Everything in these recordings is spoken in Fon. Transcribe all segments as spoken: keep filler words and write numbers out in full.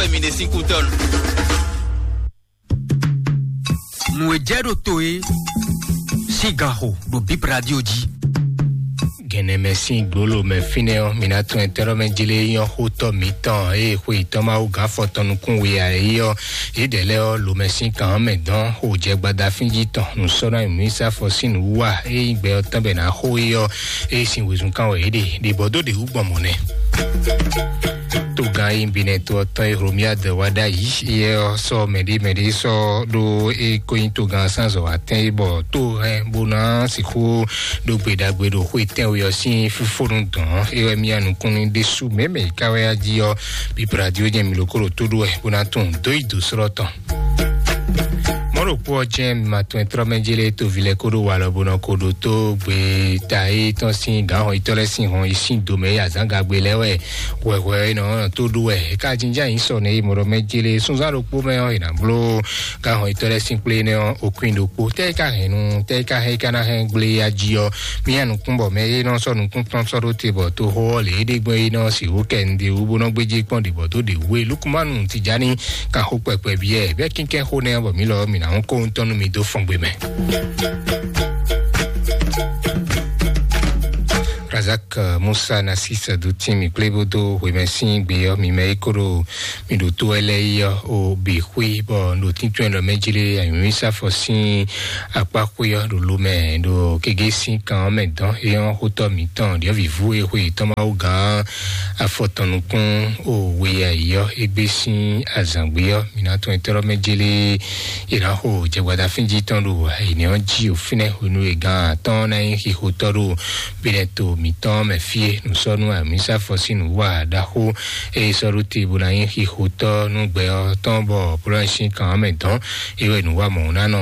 Wɛ mi ɖe sín kútɔnu. Nǔ e jɛ ɖo to e sín gan xo ɖo Bib Radio jí. Gɛnɛ mɛ sín gbolo mɛ fínɛ́ ɔ́, mi ná tunwun tɛ́rɔ mɛ jlé nyɔ́ xótɔ́ mǐtɔn eye xwe yětɔn Mawu gǎn afɔtɔn nukún we ǎ é ɔ́, yědɛɛ lɛ́ɛ ɔ́, lomɛ sín kan ɔ́ mɛ dɔn xo jɛ gbadafín jí tɔn nǔ sɔ́ ná nyi nǔ e sá afɔ sín nǔ wú wá é nyí gbɛ ɔ́ tɔn bɛ nǎ xo é ɔ́, é sin wezun kan wɛ é ɖe ɖe bɔ dó ɖě wú gbɔn mɔ̌ nɛ́. Togán e nyí Benɛto ɔ́ tɔn e Hlomia dɛ wá ɖ'ayǐ é ɔ́ sɔ́ mɛɖé mɛɖé sɔ́ ɖó é ko nyí togán sánzɔ atɛ́n é bɔ tó hɛn bó ná sixú ɖó gbe ɖagbe ɖo xwé tɛ́nwe ɔ́ sín fífónú dɔn é wɛ mía nukúnnu ɖésú mɛ̌mɛ yi ká wɛ á jí ɔ́, bíblá jí ó jɛ mi lǒ kó ɖo tó ɖó wɛ bó ná tunwun dó yi dǒ slɔ́ tɔn. Mɔ̌ ɖokpó ɔ́ jɛ́n mi ma tunwun tlɔ́ mɛ jélé toví lɛ́ɛ kó ɖó walɔ bó nɔ ko ɖótó gbe ta é tɔn sín gǎn hɔn yítɔ́ lɛ́ɛ sín hɔn yi sín domɛ é azǎngagbe lɛ́ɛ wɛ hwɛhwɛ é nɔ tó ɖó wɛ é ka jínjɔ́n ayǐ sɔ nɛ é mɔ ɖɔ mɛ jélé súnzán ɖokpó mɛ ɔ́ è nǎ bló gǎn hɔn yítɔ́ lɛ́ɛ sín kplé nɛ́ ɔ́ okún ɖokpó tɛ́ é ka hɛn nu tɛ́ é ka hɛn é ka ná hɛn gblé ya jí ɔ́ mía nukún bɔ mɛ é nɔ sɔ́ nukún tɔn sɔ́ ɖó te bɔ toxo ɔ́ lě é ɖe gbɔn é nɔ sixú kɛ nǔɖé wú bó nɔ gbéjé kpɔ́n ɖě bɔ dó ɖě wú é Lukumanu Tijani kan xó kpɛkpɛ byɔ́ ɛ bɛ́ kínkɛ́n xó nɛ́ bɔ mǐ lɔ mǐ ná hún kó ŋutɔ́ nú mi dó fɔngbe mɛ. Razak Musa Nasis Dutin mi kplé bó dó hwemɛ sín gbe ɔ́ mi mɛ é kó ɖo mi ɖo tó wɛ lɛ́ɛ yi ɔ́ o bǐ xwí bɔ ɖo tíntɔ́n ɛlɔ mɛ jí lé anyǔmísafɔ sín akpá xwé ɔ́ ɖo lo mɛ ɖo kégé sín kan ɔ́ mɛ dɔn é ɔ́ xótɔ́ mǐtɔn ɖyɔ̌vǐvú e xwe yětɔn Mawu gǎn afɔtɔn nukún o we ayǐ ɔ́ égbé sín azǎngbé ɔ́ mi ná tɔn etɔ́ mɛ jí lé è nǎ xo jɛgbada fínjí tɔn ɖo ayǐnɛ́ ɔ́ jí o fínɛ́ hwenu e gǎn atɔ́ɔ́n ná nyí xixotɔ́ ɖo binɛto mǐtɔn mɛ fí e nǔsɔ́nú amǐsafɔ sín nǔwa ɖaxó e sɔ́ ɖó te bó ná nyí xixotɔ́ nú gbɛ ɔ́ tɔn bɔ polónɛsín kan ɔ́ mɛ dɔn é wɛ nǔwa mɔ̌ ná nɔ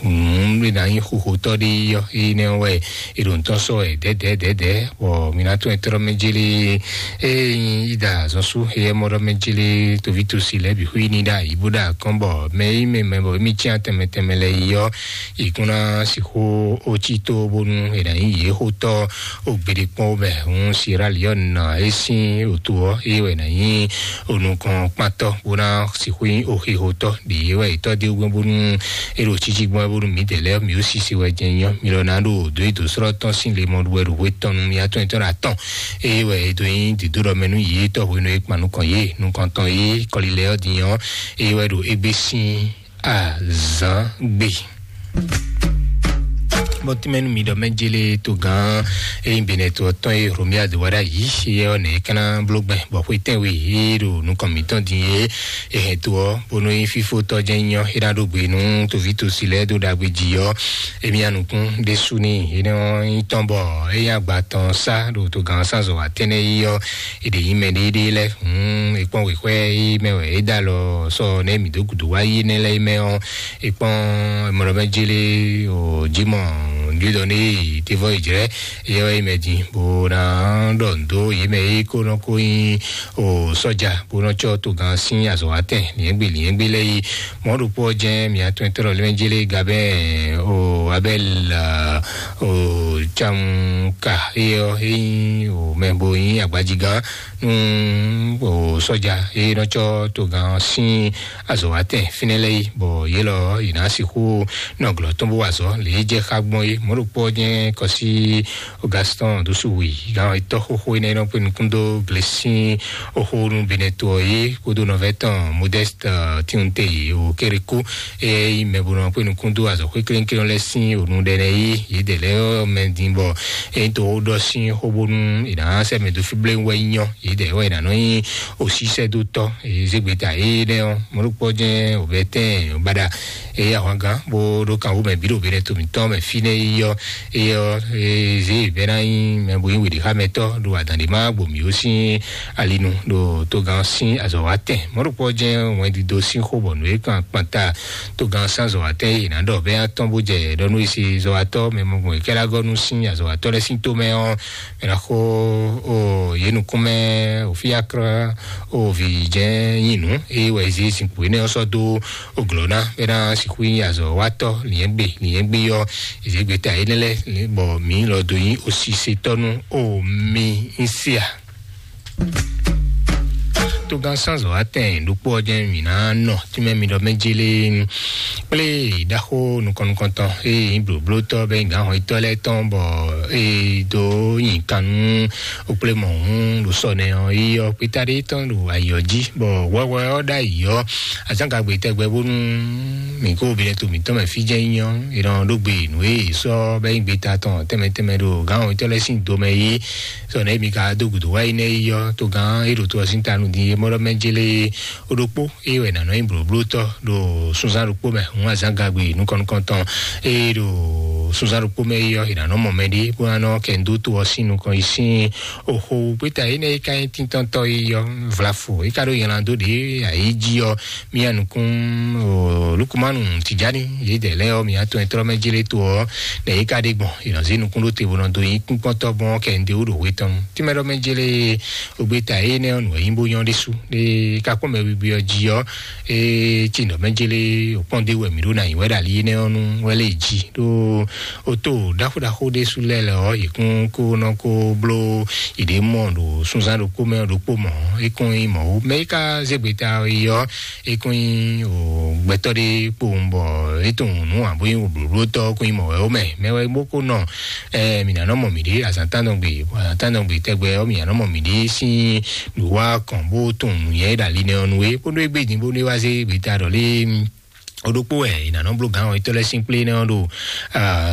nǔ e ná nyí xixotɔ́ ɖé ɔ́ énɛ́ wɛ è ɖo nǔtɔn sɔ́ wɛ dɛ̌dɛ̌dɛ̌dɛ̌ bɔ mi ná tɔn etɔ́ mɛ jélé ée nyí ida azɔn sú éyɛ́ mɔ ɖɔ mɛ jélé toví tosi lɛ́ɛ bǐ xwí ní ɖo ayǐ bó ɖo akɔ́n bɔ mɛ yí mɛ mɛ bɔ émí cyán tɛnmɛ tɛnmɛ lɛ́ɛ yi ɔ́ yě kún ná sixú ó cí tó bónú è nǎ nyí yě xótɔ́ ó gbeɖé kpɔ́n ó bɛ hún Sierra Leone ná é sín òtó ɔ́ é wɛ nǎ nyí onukɔn kpántɔ́ bó ná sixú nyí oxixotɔ́ ɖě é wɛ è tɔ́ dó gbɔn bónú é ɖo títí gbɔn bónú mǐdɛɛ lɛ́ɛ mǐ ó sisi wɛ jɛ nyɔ́ mi lɔ ná ɖo dǒ yi dǒ slɔ́ tɔn sín le mɔ wɛ ɖo hwé tɔn nú mì atɔn etɔn ɖo atɔn é wɛ é dó nyí dǐdó ɖɔ mɛ nú yě tɔ́ hwenu é kpan nukɔn yě nukɔn tɔn yě kɔlilɛ ɔ́ din ɔ́ é wɛ ɖo égbé sín azǎn gbe. Bɔn tínmɛ nú mi ɖɔ mɛ jélé tó gán eye bɛnɛ tó tɔn ye Romia do wá ɖ'ayǐ ye ɔ́ nɛ é ká ná bló gbɛn bɔ xwé tɛ́nwe é ɖo nukɔn mǐtɔn din é é hɛn to ɔ́ bónú nyí fífó tɔ́ jɛ́n nyí ɔ́ é ná ɖó gbe nú toví tosi lɛ́ɛ dó ɖagbe jí ɔ́ émí anukún ɖésú ní énɛ́ ɔ́ nyí tɔn bɔ é nyí agba tɔn sá ɖo togán sánzɔ wá tɛ́nɛ yí ɔ́ è ɖě nyí mɛ ɖéɖé lɛ́ɛ hǔn è kpɔ́n wěxwɛ́ é mɛ wɛ é dó alɔ sɔ nɛ́ mǐ dó gǔdo wá yí nɛ́ lɛ́ɛ é mɛ ɔ́ è kpɔ́n mɔɖɔmɛ jélé o jimɔ judɔ ní tévɔ ìjrɛ é wɛ é mɛ din bó ná ɖɔ ndo yé mɛ é kó nɔ kó nyí o sɔjà bó nɔ tsɔ togán sín azɔ̌wátɛn liɛ́ngbé liɛ́ngbé lɛ́ɛ yí mɔ̌ ɖokpó ɔ́ jɛ́n mǐ atɔn tɔ́ lɔ lɛ́mɛ jélé gabɛ́ o abɛl o camuka é ɔ́ é nyí o mɛ bo nyí agbajigán nú o sɔjà é nɔ tsɔ togán sín azɔ̌wátɛn fínɛ́ lɛ́ɛ yí bɔ yě lɔ yě ná sixú nɔ glɔ́ tɔn bó wa azɔ̌ lě e jɛ xá gbɔn é mɔ̌ ɖokpó ɔ́ jɛ́n kɔsí Augustin dó sú wi gán etɔ́ xóxó énɛ́ nɔ kpé nukún dó glesín oxó nú Benɛto ɔ́ yé kpódó nɔvɛ́ tɔn Modeste Tiunte o Kérékó é nyí mɛ bo nɔ kpé nukún dó azɔ̌xwé klénklénɔ lɛ́ɛ sín ònu ɖɛ nɛ yí yědɛɛ lɛ́ɛ ɔ́ mɛ din bɔ é nyí to xó ɖɔ sín xó bónú è nǎ sɛ́ mɛ dó fí bléwún wɛ nyí ɔ́ yědɛɛ wɛ è nǎ nɔ nyí osísɛ́dótɔ́ zégbeta énɛ́ ɔ́ mɔ̌ ɖokpó jɛ́n òbɛ́tɛ́n baɖa eye ahwangán bó ɖó kan wú mɛ bǐ ɖo Benɛto mǐtɔn mɛ fínɛ́ yi ɔ́ eye ɔ́ zé bɛ́ ná nyí mɛ bo nyí weɖixámɛtɔ́ ɖo adǎn ɖé má gbo mǐ ó sín alinu ɖo togán sín azɔ̌wátɛn mɔ̌ ɖokpó jɛ́n wɛndido sín xó bɔ nǔ e kan kpanta togán sín azɔ̌wátɛn e è nǎ ɖɔ bɛ́ atɔ́n bó jɛ ɖɔ nú esi zɔ̌wátɔ́ mɛ mɔgbɔn e kɛ́ɖá gɔ́ nú sín azɔ̌wátɔ́ lɛ́ɛ sín tómɛ ɔ́ mɛ ná xo o yě nukúnmɛ o fíákrá o vǐ jɛ́n nyí nǔ eye wɛ zé zinkpo énɛ́ ɔ́ sɔ́ dó o glɔ̌ ná bɛ́ ná sixú nyí azɔ̌wátɔ́ lǐnyɛ́gbe lǐnyɛ́gbe ɔ́ èzégbeta énɛ́ lɛ́ɛ bɔ mǐ lɔ dó nyí osisetɔ́ nú o mi ń se a. Gán sánzɔ atɛn ɖokpó ɔ́ jɛ́n mǐ ná nɔ tínmɛ mi ɖɔ mɛ jélé kplé ɖaxó nukɔn-nukɔntɔn eye nyí blǒblótɔ́ bɛ nyí gǎn hɔnyitɔ́ lɛ́ɛ tɔn bɔ eye dó nyi kan nú okplémɔhún ɖo sɔ nɛ ɔ́ yi ɔ́ kpéta ɖé tɔn ɖo ayǐ ɔ́ jí bɔ hwɛhwɛ ɔ́ ɖ'ayǐ ɔ́ azǎngagbe tɛgbɛ bónú mǐ kó binɛ to mǐtɔn mɛ fí jɛ́n nyí ɔ́ è nɔ ɖó gbe nǔ e è sɔ́ bɛ nyí gbeta tɔn tɛnmɛ tɛnmɛ ɖo gǎn hɔnyitɔ́ lɛ́ɛ sín do mɛ yi sɔ nɛ̌ mi ka dó gǔdo wá yi nɛ́ yi ɔ́ togán é ɖo to ɔ́ sín ta nú din é mɔɖɔ mɛ jélé ó ɖokpó é wɛ nǎ nɔ nyí blǒblótɔ́ ɖo sunzán ɖokpó mɛ hǔn azǎngagbe nukɔn-nukɔntɔn é ɖo sunzán ɖokpó mɛ yi ɔ́ è nǎ nɔ mɔ mɛ ɖé bó ná nɔ kɛ dó to ɔ́ sín nukɔn yi sín oxo gbéta énɛ́ é ka nyí tíntɔ́ntɔ́ yi ɔ́ vlafo é ka ɖó nylá dó ɖě ayǐ jí ɔ́ mía nukún lukumanu tijani yědɛ lɛ́ɛ ɔ́ mǐ atɔn e tlɔ́ mɛ jélé to ɔ́ nɛ yě ka ɖe gbɔn è nɔ zé nukún ɖó te bó nɔ dó nyí kúnkpɔ́ntɔ́ gbɔn kɛ un ɖe wú ɖo hwe tɔn tínmɛ ɖɔ mɛ jélé ogbeta énɛ́ ɔ́ nǔ wɛ nyí bó nyɔ́ ɖésú ɖé ka kpɔ́n mɛ wiwi ɔ́ jí ɔ́ é ci nɔ mɛ jélé òkpɔ́n ɖé wɛ mǐ ɖó ná nyǐ wɛ ɖo ali énɛ́ ɔ́ nú wɛ lé jí ɖó ó tó ɖaxó ɖaxó ɖésú lɛ́ɛ lɛ ɔ́ yě kún kó nɔ kó bló yě ɖě mɔ ɖo sunzán ɖokpó mɛ ɖokpó mɔ é kún nyí mɔ̌ mɛ é ka zé gbeta yi ɔ́ é kún nyí o gbɛtɔ́ ɖé kpowun bɔ é tunwun nǔ ǎ bó nyí blǒblótɔ́ kún nyí mɔ̌ wɛ ó mɛ mɛ wɛ bó kó nɔ ɛ mǐ ná nɔ mɔ mǐɖée azǎn tántɔn gbe azǎn tántɔn gbe tɛgbɛ ɔ́ mǐ ná nɔ mɔ mǐɖée sín nǔwá kɔn bó tunwun nǔnyɛ e ɖo ali nɛ ɔ́ nú é bónú é gbé din bónú é wá zé gbeta ɖɔ lé o ɖokpó wɛ è nǎ nɔ bló gǎn ɔ́ itɔ́ lɛ́ɛ sín kplé nɛ́ ɔ́ ɖo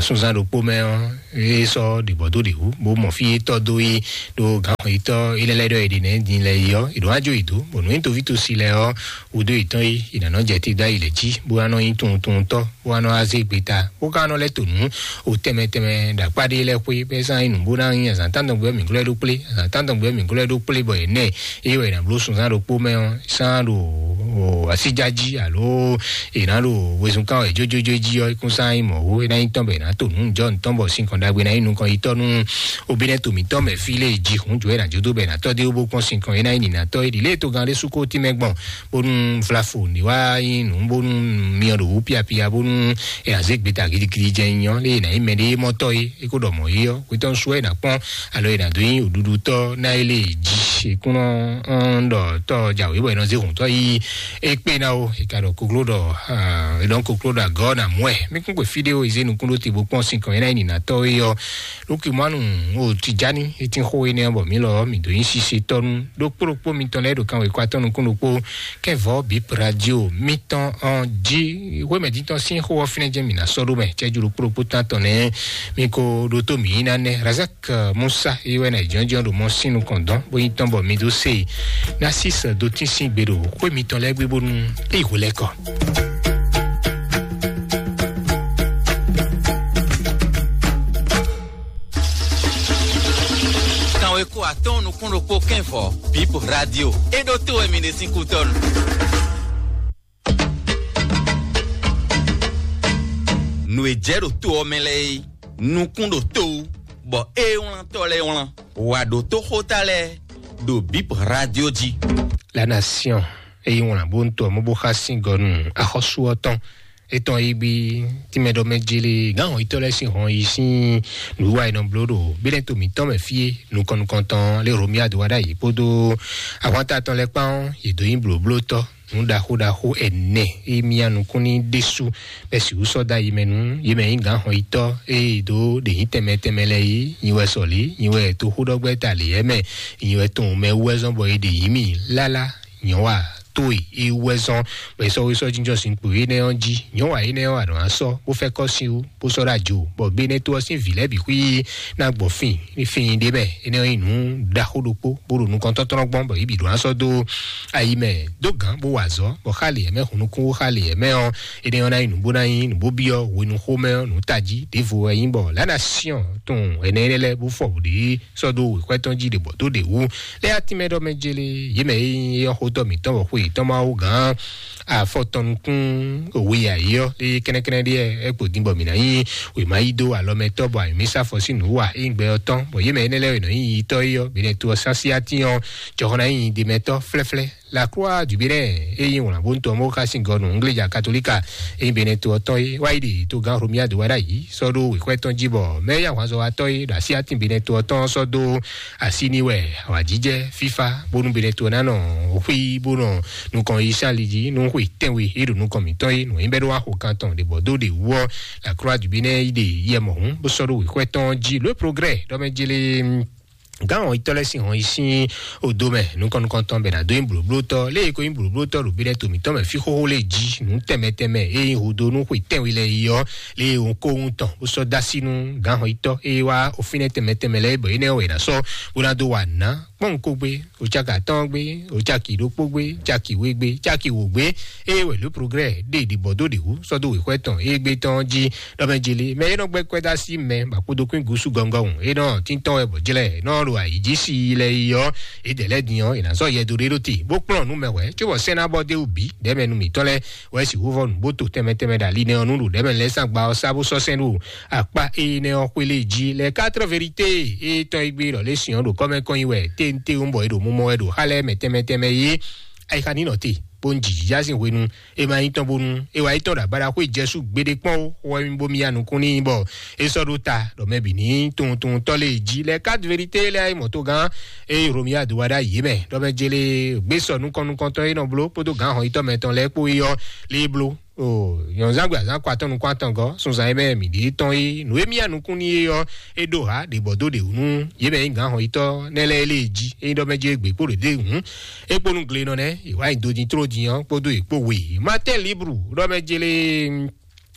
sunzán ɖokpó mɛ ɔ́ é sɔ́ ɖě bɔ dó ɖě wú bó mɔ fí é tɔ́ dó é ɖó gǎn ɔ́ itɔ́ é lɛ́ lɛ́ ɖɔ è ɖě nɛ́ din lɛ yi ɔ́ è ɖǒ wá jó è dó bɔ nǔ nyí toví tosi lɛ ɔ́ wodó yětɔn é è nǎ nɔ jɛ te dó ayi lɛ̌ jí bó wá nɔ nyí tunwuntunwuntɔ́ bó wá nɔ wá zé gbeta bó ka nɔ lɛ́ to nǔ o tɛnmɛ tɛnmɛ ɖo akpá ɖé lɛ́ɛ xwé bɛ́ zán nyí nǔ bó ná nyí azǎn tántɔn gbɛ mǐ glɔ́ ɖó kplé azǎn tántɔn gbɛ mǐ glɔ́ ɖó kplé bɔ yě nɛ é wɛ è nǎ bló sunzán ɖokpó mɛ ɔ́ sán ɖo asíjá jí alo è nǎ ɖo wezun kán wɛ jójójó jí ɔ́ kún sán nyí mɔ̌ wó é ná nyí tɔn bɔ è nǎ to nǔ jɔ nǔtɔn bɔ sinkɔn ɖagbe ná nyí nukɔn yitɔ́ nú obínɛ́ to mǐtɔn mɛ fí lé jí hǔn jǒ é nǎ jó dó bɔ è nǎ tɔ́ dé wó bó kpɔ́n sinkɔn é ná nyí nǐnátɔ́ é ɖi lě e togán ɖé sú kó tínmɛ gbɔn bónú vlafo ní wá nyí nǔ bónú myɔ ɖo wú piapia bónú è nǎ zé gbeta gidigidi jɛ nyɔ lé è nǎ nyí mɛ ɖé mɔtɔ́ é é kó ɖɔ mɔ̌ é ɔ́ hwetɔ́ sú wɛ è nǎ kpɔ́n alo è nǎ dó nyí òɖuɖutɔ́ ná é lé jí é kún nɔ ɖɔ tɔ́ jǎwé bɔ è nɔ zé hǔntɔ́ yí é kpé ná ó è ka ɖɔ kokló ɖɔ è nɔ kokló ɖɔ agɔ́ nà mú ɛ mí kún kwe fí ɖé ó è zé nukún ɖó te bó kpɔ́n sinkɔn é ná nyí nǐnátɔ́ é ɔ́ Lukimanu o Tijani é tín xó énɛ́ ɔ́ bɔ mǐ lɔ ɔ́ mǐ dó nyí sisetɔ́ nú ɖokpó ɖokpó mitɔn lɛ́ɛ ɖo kanwekɔ atɔn nukún ɖokpó kɛ́vɔ́ bip radio mitɔn ɔ́ jí hwémɛdítɔ́ sín xó ɔ́ fínɛ́ jɛ́n mǐ ná sɔ́ ɖó mɛ cɛ́jú ɖokpó ɖokpó tántɔn nɛ́ mí ko ɖótó mǐ yí ná nɛ́ Razak Musa é wɛ ná jɔ́njɔ́n ɖo mɔ sín nukɔn dɔn bó nyí tɔn bɔ mǐ dó se Narcisse do tín sín gbe ɖo xwé mitɔn lɛ́ɛ gbé bónú é yi hwelɛ́kɔ. Kanweko atɔ́ɔ́n nukún ɖokpó kɛ́nvɔ bip radio é ɖó tó wɛ mi ɖe sín kútɔ́nu. Nǔ e jɛ ɖo to ɔ́ mɛ lɛ́ɛ é nukún ɖo to wú bɔ é wlán tɔ́ lɛ́ɛ wlán wǎ ɖótó xóta lɛ́ɛ ɖo bip radio jí. La Nation é yi wlán bó ń to ɔ́ mɔ bó xá sín gɔ nú axɔ́sú ɔ́ tɔn etɔn yi gbi tínmɛ ɖɔ mɛ jele gán hɔn yitɔ́ lɛ́ɛ sín hɔn yi sín nǔwiwa e nɔ bló ɖo bínɛ́ to mǐtɔn mɛ fí é nukɔn nukɔntɔn lé Romia do wá ɖ'ayǐ kpódó ahwanta tɔn lɛ́ɛ kpán ɔ́ yě dó nyí blǒblótɔ́ nǔ ɖaxó ɖaxó ɛnɛ e mia nukún ní ɖésú bɛ sixú sɔ́ dó ayi mɛ nú yě mɛ nyí gǎn hɔn yitɔ́ e dó ɖě nyí tɛnmɛ tɛnmɛ lɛ́ɛ yí nyi wɛ sɔ̌lí nyi wɛ toxóɖɔgbɛ́ta lě yɛ́ mɛ nyi wɛ tɔn mɛ wú wɛ zɔ́n bɔ è ɖe yǐ mì lála nyɔ̌wa tó e é wú wɛ zɔ́n bɔ è sɔ́ wé sɔ́ jínjɔ́n sin kpo énɛ́ ɔ́ jí nyɔ̌wa énɛ́ ɔ́ ànɔ asɔ́ bó fɛ́ kɔ́ sin wú bó sɔ́ ɖó ajo bɔ bene tó ɔ́ sín vǐ lɛ́ɛ bǐ xwí ná gbɔ fín ní fín ɖé mɛ énɛ́ ɔ́ nyí nǔ ɖaxó ɖokpó bó ɖo nukɔntɔ́tɔ́nɔ gbɔn bɔ yě bǐ ɖó ná sɔ́ dó ayi mɛ dó gǎn bó wa azɔ̌ bɔ xá lě mɛ hunnukún xá lě mɛ ɔ́ énɛ́ ɔ́ ná nyí nǔ bó ná nyí nǔ bó byɔ́ hwenuxómɛ ɔ́ nǔ tají ɖěvo wɛ nyí bɔ lǎ ná syɔ́n tunwun ɛnɛ énɛ́ lɛ́ɛ bó fɔ bǔ ɖě sɔ́ dó wěxwɛ́ tɔn jí ɖě bɔ dó ɖě wú lé atínmɛ ɖɔ mɛ jélé yě mɛ e nyí éyɔ́ xótɔ́ mǐtɔn bɔ xwe yětɔn ma wú gǎn afɔtɔnukún òwe ayǐ ɔ́, lé kɛ́nɛ́kɛ́nɛ́ ɖíe ɛ kpo din bɔ mǐ ná nyí wěma yí dó alɔmɛtɔ́ bɔ ayǐmísafɔ sín nǔ wa é nyí gbɛ ɔ́ tɔn, bɔ yě mɛ énɛ́ lɛ́ɛ wɛ nɔ nyí yitɔ́ é ɔ́, bǐnɛ́ to ɔ́ sín asyátín ɔ́, jɔhɔn ná nyí ɖemɛtɔ́ flɛ́flɛ́. La Croix du Bénin, e nyí wlǎnbóntɔ́ mɔ̌ xá sín gɔ́ nǔ Ngléja Katolíka, e nyí Benɛto ɔ́ tɔn é, wá yi ɖe togán Romuald wá ɖ'ayǐ sɔ́ ɖó wěxwɛ́ tɔn jí, bɔ mɛ e nyí ahwanzɔ́watɔ́ é ɖo asyátín Benɛto ɔ́ tɔn ɔ́ sɔ́ dó así n'i wɛ awǎjijɛ fífá, bónú Benɛto ná nɔ xwí bó nɔ nukɔn yi sín ali jí nú xwe tɛ́nwe e ɖo nukɔn mǐtɔn é. Nǔ e nyí bɛ́ ɖó wá xo kan tɔn ɖě bɔ dó ɖě wú ɔ́, La Croix du Bénin yi ɖe yɛ mɔ̌hun bó sɔ́ ɖó wěxwɛ́ tɔn ɔ́ jí. Le Progrès ɖɔ mɛ jélé gán hɔnyitɔ́ lɛ́ɛ sín hɔn yi sín odo mɛ nukɔn nukɔntɔn bɛ ná dó nyí blǒblótɔ́ lé e ko nyí blǒblótɔ́ ɖo Benɛto mǐtɔn mɛ fí xóxó lé jí nǔ tɛnmɛ tɛnmɛ e nyí hudo nú xwe tɛnwe lɛ́ɛ yi ɔ́, lé e hɔn kóhun tɔn bó sɔ́ dó así nú gán hɔnyitɔ́ e wá ofínɛ́ tɛnmɛ tɛnmɛ lɛ́ɛ bɔ énɛ́ wɛ è nǎ sɔ́ bó ná dó wa nǔ ná kpɔ́n ko gbé, o caki atɔ́ɔ́n gbé, o caki ɖokpó gbé, caki we gbé, caki wǒ gbé, eye wɛ Le Progrès ɖe ɖibɔ dó ɖě wú sɔ́ dó wěxwɛ́ tɔn e gbé tɔn jí ɖɔ mɛ jeli mɛ e nɔ gbɛ́ kwɛ́ dó así mɛ bɔ akpodokún gúsú gɔngɔn hǔn e nɔ tíntɔ́n wɛ bɔ jlɛ́ nɔ ɖo ayǐ jí si lɛ yi ɔ́, yědɛɛ lɛ́ɛ din ɔ́, è nǎ zɔ yɛ dó ɖé ɖó te bó kplɔ́n nú mɛ hwɛ̌ cóbɔ sɛ́n ná bɔ dó wú bǐ ɖɛ̌mɛ nú mǐtɔn lɛ́ɛ wɛ sixú vɔ nǔ bó to tɛnmɛ tɛnmɛ ɖo ali nɛ́ ɔ́ nú ɖo ɖɛ̌mɛ lɛ́ɛ sín agba ɔ́ sá bó sɔ́ sɛ́n ɖo akpá énɛ́ ɔ́ xwé lé jí lɛ quatre vérité e tɔn e gbé ɖɔ lé sìn ɔ́ ɖo kɔ́mɛ kɔn nyi wɛ téntewú bɔ è ɖo mumɔ wɛ ɖo xá lɛ́ɛ mɛ tɛnmɛ tɛnmɛ yé. Ayixa ní nɔ te bó ń jìjìjá sín hwenu e ma nyí tɔn bónú e wá yi tɔn ɖo abáɖaxwé Jezu gbeɖé kpɔ́n ó, xó wɛ mì bó mì ya nukún n'i bɔ é sɔ́ ɖó ta ɖɔ mɛ bǐ ní tunwun tunwun tɔ́ lé jí lɛ quatre vérité lɛ́ɛ yi mɔ togán eye Romuald wá ɖo ayǐ mɛ ɖɔ mɛ jélé gbé sɔ nukɔn nukɔntɔn e nɔ bló kpódó gǎn hɔnyitɔ́ mɛtɔn lɛ́ɛ kpó yi ɔ́ lé bló. O nyɔ̌nzángbe azǎn kɔ atɔ́ nukún atɔngɔ́ sunzan e mɛ mǐ ɖe tɔn é nǔ e mì ya nukún n'i é ɔ́, é ɖó ha ɖě bɔ dó ɖě wú nú yě mɛ nyí gǎn hɔnyitɔ́ nɛ́ lɛ́ɛ lée jí é nyí ɖɔ mɛ jí égbé kpó ɖě ɖé hǔn. É kpó nú glenɔ nɛ́ è wá nyi do din tló din ɔ́ kpódó è kpó we. Martin Libre ɖɔ mɛ jélé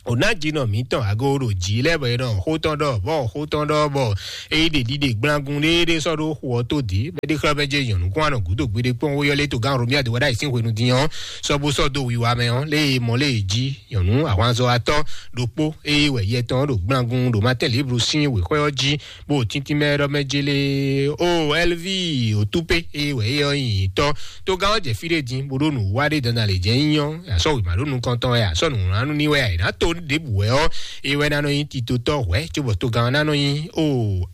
ò ná jinɔ mǐtɔn ago ɖo jǐ lɛ́ɛ bɔ è nɔ xó tɔn ɖɔ bɔ xó tɔn ɖɔ bɔ é yi ɖe ɖiɖe gblangun ɖéeɖé sɔ́ ɖó xu ɔ́ tó dǐ bɔ é ɖe xlɛ́ mɛ jɛ nyɔ̌nu kún anɔ gǔdo gbeɖé kpɔ́n ó yɔ́ lé togán Romuald wá ɖo ayǐsín hwenu din ɔ́ sɔ́ bó sɔ́ dó wiwa mɛ ɔ́ lé e mɔ lé e jí nyɔ̌nu ahwanzɔ́watɔ́ ɖokpó eye wɛ yɛ tɔn ɔ́ ɖo gblangun ɖo Martin Libre sín wěxwɛ́ ɔ́ jí bó tíntín mɛ ɖɔ mɛ jélé ó Ɛlvi òtúpé eye wɛ é ɔ́ nyi tɔ́. Togán ɔ́ jɛ fí ɖé din bó ɖó nǔ wa ɖé dandan lě jɛ nyí ɔ́, asɔ́ wěma ɖó nukɔn tɔn wɛ, asɔ́ nǔwlánú ní wɛ, ayǐ ná to ɖěbǔ wɛ ɔ́, é wɛ ná nɔ nyí titotɔ́ hwɛ̌ cóbɔ togán ɔ́ ná nɔ nyí ó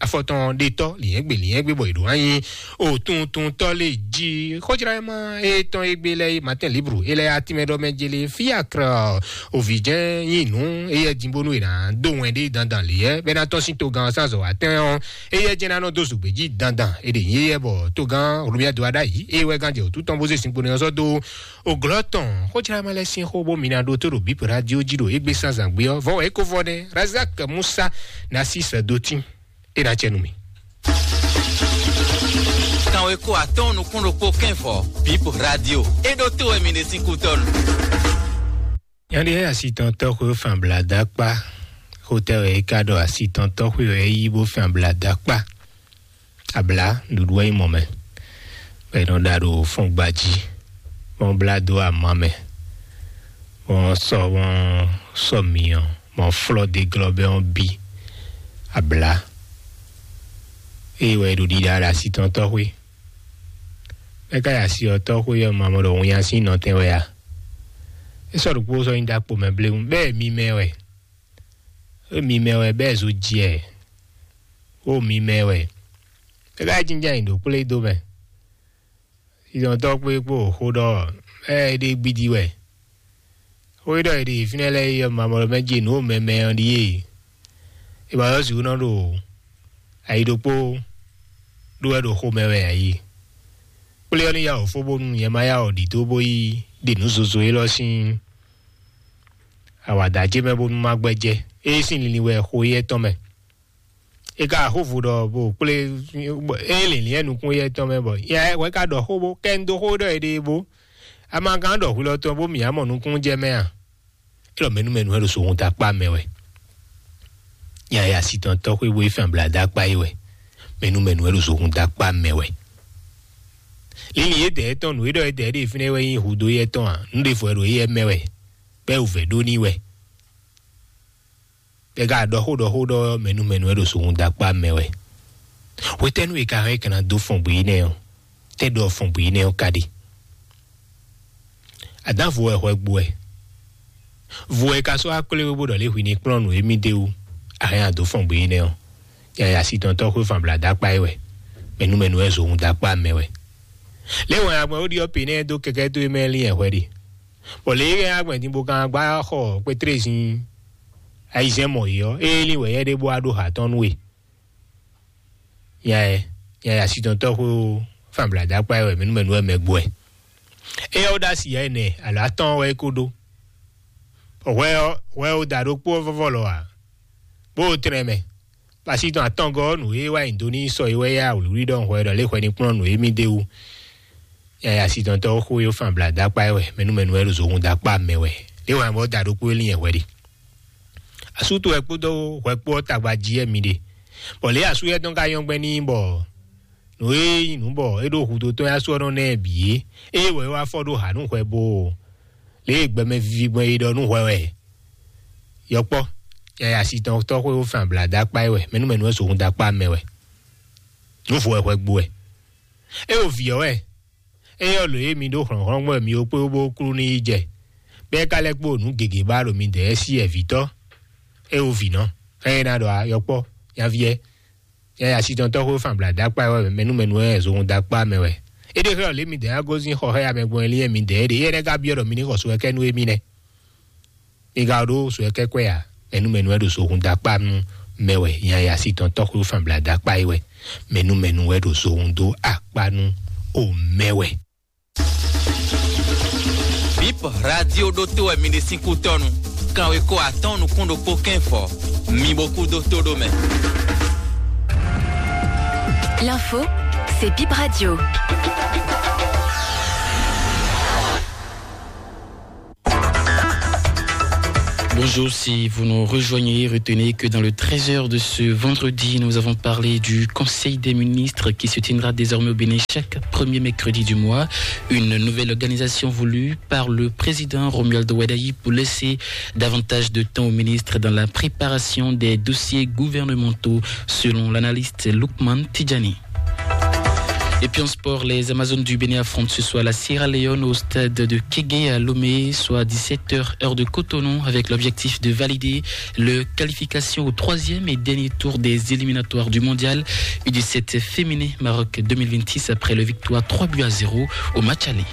afɔtɔn ɖetɔ́ lǐnyɛ́gbe lǐnyɛ́gbe bɔ è ɖǒ wá nyí ó tuntuntɔ́ lé jí xɔjlá ma étɔn égbé lɛ́ɛ Martin Libre é lɛ́ɛ atínmɛ ɖɔ mɛ jélé fiakra òvǐjɛ́n nyí nǔ éyɛ́ din bónú è nǎ dó wɛn ɖé dandan lě yɛ́ bɛ́ ná tɔ́n sín togán ɔ́ sín azɔ̌ wa tɛ́n ɔ́, éyɛ́ jɛ́n ná nɔ dó zǔgbé jí dandan. É ɖe nyí éyɛ́ bɔ togán Romuald wá ɖ'ayǐ é wɛ gán jɛ wǔtu tɔn bó zé sinkpo nɛ́ ɔ́ sɔ́ dó òglɔ́ tɔn. Xójlá ma lɛ́ sín xó bó mi ná ɖótó ɖo bǐ radio jí ɖo égbé sín azǎn gbé ɔ́, vɔ̌ wɛ é ko vɔ nɛ́ Razak Musa ná sí sɛ̌dótín. É ná jɛ nú mì. Kanwe ko atɔ́ɔ́n nukún ɖokpó kɛ́nvɔ bǐ radio é ɖótó wɛ mi ɖe sín kútɔ́nu. Nyɔ̌ɖi e asitɔntɔ́ xwé fán bla dó akpá, xotɛ́ wɛ é ka ɖɔ asitɔntɔ́ xwé wɛ é yí bó fán bla dó akpá. Abla nǔɖuɖu wɛ nyí mɔ̌ mɛ, bɔ è nɔ ɖa ɖo fɔngba jí, bɔ blá dó ama mɛ, bɔ sɔ bɔ sɔ myɔ, bɔ flɔ́ dó glɔ́ bɛ ɔ́ bí. Abla eye wɛ è ɖo ɖiɖa ɖo asitɔntɔ́ xwé. Mɛ ka yi asi ɔ́ tɔ́ xwé ɔ́ ma mɔ ɖɔ winnya sín nɔtɛn wɛ a? É sɔ́ ɖokpó sɔ́ nyí ɖakpo mɛ bléwún, bɛ́ è mi mɛ wɛ. É mi mɛ wɛ bɛ́ è zo ji ɛ. Ó mi mɛ wɛ. É ka yi jínjɔ́n ayǐ ɖo kplé dó mɛ. Sísɔntɔ́ kpé kpó xó ɖɔ ɛ é ɖe gbídí wɛ. Xó e ɖɔ è ɖe fínɛ́ lɛ́ɛ é ɔ́, mamɔɖɔ mɛ jí nǔ mɛmɛ ɔ́ ɖíe. È ma ɖɔ sixú nɔ ɖo ayi ɖokpó ɖó wɛ ɖo xomɛ wɛ ayi. Kplé ɔ́ ní yá wǒ fó bónú nyɛ ma yá wǒ ɖidó bó yi ɖe nǔ zozo élɔ́ sín awǎda ce mɛ bónú má gbɛ́jɛ́. Ée sín linlin wɛ xo éyɛ́ tɔn mɛ. É ka xó vo ɖɔ bó kplé é linlin ɛ nukún éyɛ́ tɔn mɛ bɔ yɛ wɛ ka ɖɔ xó bó kɛ un dó xó ɖɔ éɖée bó. Ama gán ɖɔ hwilɔ tɔn bó mǐ á mɔ nukún jɛ mɛ a? É ɖɔ mɛnú mɛnú wɛ ɖo sohun ta kpá mɛ wɛ. Nya ya si tɔn tɔ́ xwé bó é fɛn bla dá kpá é wɛ. Mɛnú mɛnú wɛ ɖo sohun ta kpá mɛ wɛ. Lili yědɛɛ tɔn nǔ e ɖɔ yědɛɛ ɖe fínɛ́ wɛ nyí hudó yɛ tɔn a? Nǔ ɖěvo wɛ ɖo éyɛ́ mɛ wɛ. Bɛ́ wǔvɛ́ ɖó n'i wɛ. Bɛ ka ɖɔ xó ɖɔ xó ɖɔ mɛnú mɛnú wɛ ɖo sohun da kpá mɛ wɛ. Hwetɛ́nu e ka hɛn é ka ná dó fɔn bwǐ nɛ́ ɔ́? Tɛ́ ɖɔ fɔn bwǐ nɛ́ ɔ́ ka ɖe? Adán vo wɛ hwɛ gbo wɛ. Vo wɛ ka sɔ́ wá kplé wé bó ɖɔ lě hwi ní kplɔ́n nǔ émí d'é wú. A hɛn a dǒ fɔn gbé énɛ́ ɔ́, yaya si tɔn tɔ́ xwé fan bla dó akpá é wɛ. Mɛnú mɛnú wɛ zǒhun dó akpá mɛ wɛ. Lě wɛn agbɛn ó ɖiɔ pě nɛ́ dó kɛkɛ́ tó é mɛ lín ɛhwɛ ɖe. Bɔ lě é hɛn agbɛn din bó kan gbá xɔ kpétré zin ayizɛ́n mɔ yě ɔ́, é lín wɛ yɛ ɖé bó wá ɖó ha tɔn nú we. Nya ɛ, nya ɛ asitɔntɔ́ xwé ó, fan bla dó akpá ɛ wɛ, mɛnú mɛnú wɛ mɛ gbo ɛ. Éyɛ́ ó ɖó asi yɛ nɛ, alɔ atɔ́ɔ́n wɛ é kó ɖó. Hwɛ ɔ́, hwɛ ó da ɖokpó ɔ́ vɔ́vɔ́ lɔ ǎ, bó ó tlɛn mɛ. Basi tɔn atɔngɔ́ ɔ́, nǔ e wá nyi do n'i sɔ é wɛ yá wlǐwlí ɖɔhun hwɛ ɖɔ lě hwɛ ní kplɔ́n nǔ e mì d'é wú. Yaya asitɔntɔ́ ɔ́ xó yó fan bla dó akpá ɛ wɛ, mɛnú mɛnú wɛ ɖo zohun dó akpá mɛ wɛ. Lě wɛ bɔ da ɖokpó é lin yɛ hwɛ ɖe. Asú towe kpódó hwɛ kpó ɔ́ tagba jí wɛ mi ɖe. Bɔ lě asú yɛ tɔn ka nyɔ́ gbɛn n'i bɔ nǔ e nyí nǔ bɔ é ɖó hudó tɔn yá sú ɔ́ nɔ ná ɛ bǐ é. Ée wɛ é wá fɔ ɖó hǎ nú hwɛ bó o. Lě e gbɛmɛ vivi gbɔn é ɖɔ nú hwɛ wɛ. Yɔkpɔ́, yaya asitɔntɔ́ xwé wó fan bla dó akpá é wɛ, mɛnú mɛnú wɛ sohun dó akpá mɛ wɛ. Nǔ vo wɛ hwɛ gbo wɛ. É o vǐ ɔ́ wɛ. Éyɛ́ lǒ e mi ɖó hlɔ̌nhlɔ́n gbɔn mi ó kpé bó klú ní yi jɛ, bɔ é ka lɛ́ kpó nǔ gěgé ba ɖo midɛɛ sí ɛvǐtɔ́. É o vǐ nɔ. Hɛn é ná ɖɔ a yɔkpɔ́, nyaví ɛ. Yaya asitɔntɔ́ xwé fan bla dó akpá wɛ, mɛnú mɛnú wɛ zohun dó akpá mɛ wɛ. É ɖe xlɛ́ lě midɛɛ ná gosín xɔ xá ya mɛ gbɔn lín ɛ midɛɛ ɖe. Éyɛ́ lɛ́ ka byɔ́ ɖɔ mi ní xɔ so wɛ kɛ nú émí nɛ́. Mi ka ɖó so wɛ kɛ kwɛ a? Mɛnú mɛnú wɛ ɖo zohun dó akpá nú mɛ wɛ. Yaya asitɔntɔ́ xwé fan bla dó akpá é wɛ. Mɛnú mɛnú wɛ ɖo zohun dó akpá nú o mɛ wɛ. Bip radio ɖótó wɛ mi ɖe sín kútɔ́nu. Kanwekó atɔ́ɔ́n nukún ɖokpó kɛ́n fɔ. Mi bo kú dó tó ɖó mɛ. L'info, c'est Bip Radio. Bonjour, si vous nous rejoignez, retenez que dans le treize heures de ce vendredi, nous avons parlé du Conseil des ministres qui se tiendra désormais au Bénin chaque premier mercredi du mois. Une nouvelle organisation voulue par le président Romuald Wadagni pour laisser davantage de temps aux ministres dans la préparation des dossiers gouvernementaux, selon l'analyste Lookman Tidjani. Et puis en sport, les Amazones du Bénin affrontent ce soir la Sierra Leone au stade de Kégué à Lomé, soit dix-sept heures, heure de Cotonou, avec l'objectif de valider le qualification au troisième et dernier tour des éliminatoires du mondial U dix-sept féminin Maroc deux mille vingt-six après le victoire trois buts à zéro au match aller.